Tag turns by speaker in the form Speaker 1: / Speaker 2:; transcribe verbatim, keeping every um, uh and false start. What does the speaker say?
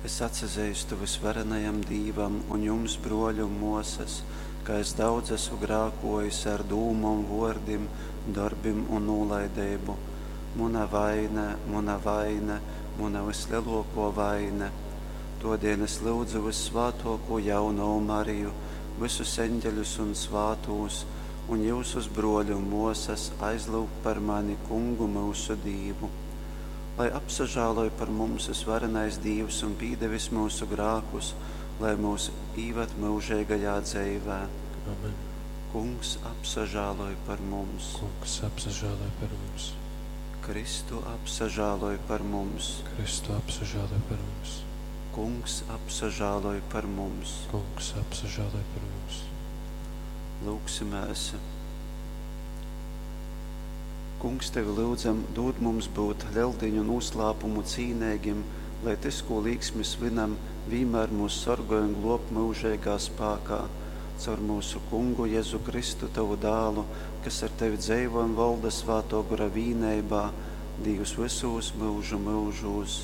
Speaker 1: Es atsazeistu Vysvarenajam Dīvam un jums, brōli un mōsas, ka es daudz asu grākōjis ar dūmom, vōrdim, dorbim un nūlaideibu. Muna vaine, muna vaine, muna vyslelōkō vaine. Tōdēļ es lyudzu vyssvātōkū Jaunovu Mariju, vysus eņģeļus un svātūs, un jyusus, brōli un mōsas, aizlyugt par mani Kungu myusu Dīvu. Lai apsažāloj par mums Vysvarenais Dīvs un pīdevis myusu grākus, lai myus īvad myužeigajā dzeivē.
Speaker 2: Amen.
Speaker 1: Kungs, apsažāloj par mums!
Speaker 2: Kungs, apsažāloj par mums!
Speaker 1: Kristu, apsažāloj par mums!
Speaker 2: Kristu, apsažāloj par mums!
Speaker 1: Kungs, apsažāloj par mums!
Speaker 2: Kungs, apsažāloj par mums!
Speaker 1: Lūgsimēs! Kungs, tevi lyudzam, dūd mums būt Leldīņu nūslāpumu cīneigim, lai tys, kū līksmi svinam, vīnmār mūs sorgoj un glob myužeigā spākā. Caur myusu Kungu Jezu Kristu, tovu dālu, kas ar tevi dzeivo un volda Svātō Gora vīneibā, Dīvs vysūs myužu myužūs.